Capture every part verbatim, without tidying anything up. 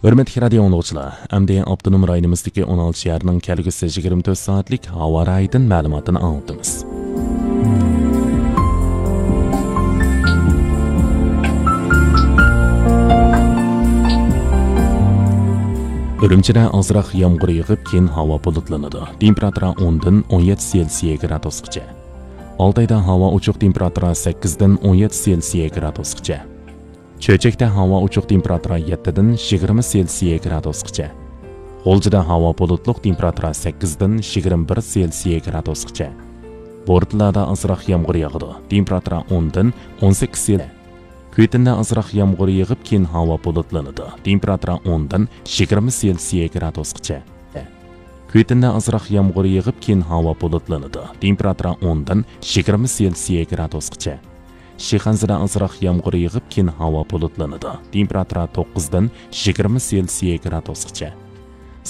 ھۆرمەتلىك رادىيو ئاڭلىغۇچىلار، ئەمدى ئاپتونوم رايونىمىزدىكى ئون ئالتە شەھەرنىڭ كەلگۈسى يىگىرمە تۆت سائەتلىك ھاۋا رايىدىن مەلۇماتىنى ئاڭلىتىمىز. ئۈرۈمچىدە ئازراق يامغۇر يېغىپ، كېيىن ھاۋا بۇلۇتلىنىدۇ. تېمپېراتۇرا ئوندىن ئون يەتتە سېلسىيە گرادۇسقىچە. ئالتايدا ھاۋا ئوچۇق، تېمپېراتۇرا سەككىزدىن ئون يەتتە سېلسىيە گرادۇسقىچە. چۆچەكتە ھاۋا ئوچۇق، تېمپېراتۇرا يەتتىدىن يىگىرمە سېلسىيە گرادۇسقىچە. غۇلجىدا ھاۋا بۇلۇتلۇق، تېمپېراتۇرا سەككىزدىن يىگىرمە بىر سېلسىيە گرادۇسقىچە. بورتالادا ئازراق يامغۇر ياغىدۇ، تېمپېراتۇرا ئوندىن ئون سەككىز سېل. كۈيتىندە ئازراق يامغۇر يېغىپ، كېيىن ھاۋا بۇلۇتلىنىدۇ، تېمپېراتۇرا ئوندىن يىگىرمە سېلسىيە گرادۇسقىچە. كۈيتىندە ئازراق يامغۇر يېغىپ، كېيىن ھاۋا بۇلۇتلىنىدۇ، تېمپېراتۇرا ئوندىن يىگىرمە سېلسىيە گرادۇسقىچە. شىخەنزىدە ئازراق يامغۇر يېغىپ، كېيىن ھاۋا بۇلۇتلىنىدۇ، تېمپېراتۇرا توققۇزدىن يىگىرمە سېلسىيە گرادۇسقىچە.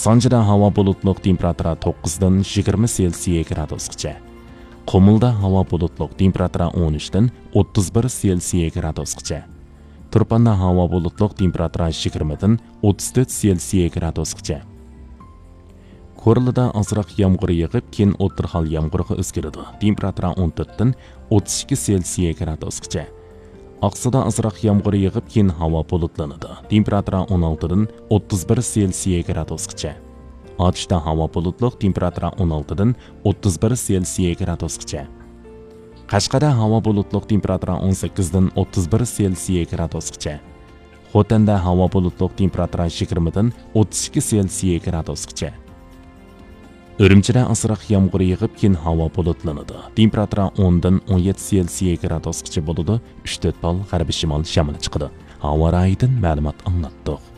سانجىدا ھاۋا بۇلۇتلۇق، تېمپېراتۇرا توققۇزدىن يىگىرمە سېلسىيە گرادۇسقىچە. قۇمۇلدا ھاۋا بۇلۇتلۇق، تېمپېراتۇرا ئون ئۈچتىن ئوتتۇز بىر سېلسىيە گرادۇسقىچە. تۇرپاندا ھاۋا بۇلۇتلۇق، تېمپېراتۇرا يىگىرمىدىن ئوتتۇز تۆت سېلسىيە گرادۇسقىچە. كورلىدا ئازراق يامغۇر يېغىپ، كېيىن ئوتتۇرا ھال يامغۇرغا ئۆزگىرىدۇ، تېمپېراتۇرا ئون تۆتتىن ئوتتۇز ئىككى سېلسىيە گرادۇسقىچە. ئاقسۇدا ئازراق يامغۇر يېغىپ، كېيىن ھاۋا بۇلۇتلىنىدۇ، تېمپېراتۇرا ئون ئالتىدىن ئوتتۇز بىر سېلسىيە گرادۇسقىچە. ئاتۇشتا ھاۋا بۇلۇتلۇق، تېمپېراتۇرا ئون ئالتىدىن ئوتتۇز بىر سېلسىيە گرادۇسقىچە. قەشقەردە ھاۋا بۇلۇتلۇق، تېمپېراتۇرا ئون سەككىزدىن ئوتتۇز بىر سېلسىيە گرادۇسقىچە. خوتەندە ھاۋا بۇلۇتلۇق، تېمپېراتۇرا يىگىرمىدىن ئوتتۇز ئىككى سېلسىيە گرادۇسقىچە. ئۈرۈمچىدە ئازراق يامغۇر يېغىپ، كېيىن ھاۋا بۇلۇتلىنىدۇ، تېمپېراتۇرا ئوندىن ئون يەتتە سېلسىيە گرادۇسقىچە بولىدۇ، ئۈچ تۆت بال غەربىي شىمال شامىلى چىقىدۇ. ھاۋا رايىدىن مەلۇمات ئاڭلاتتۇق.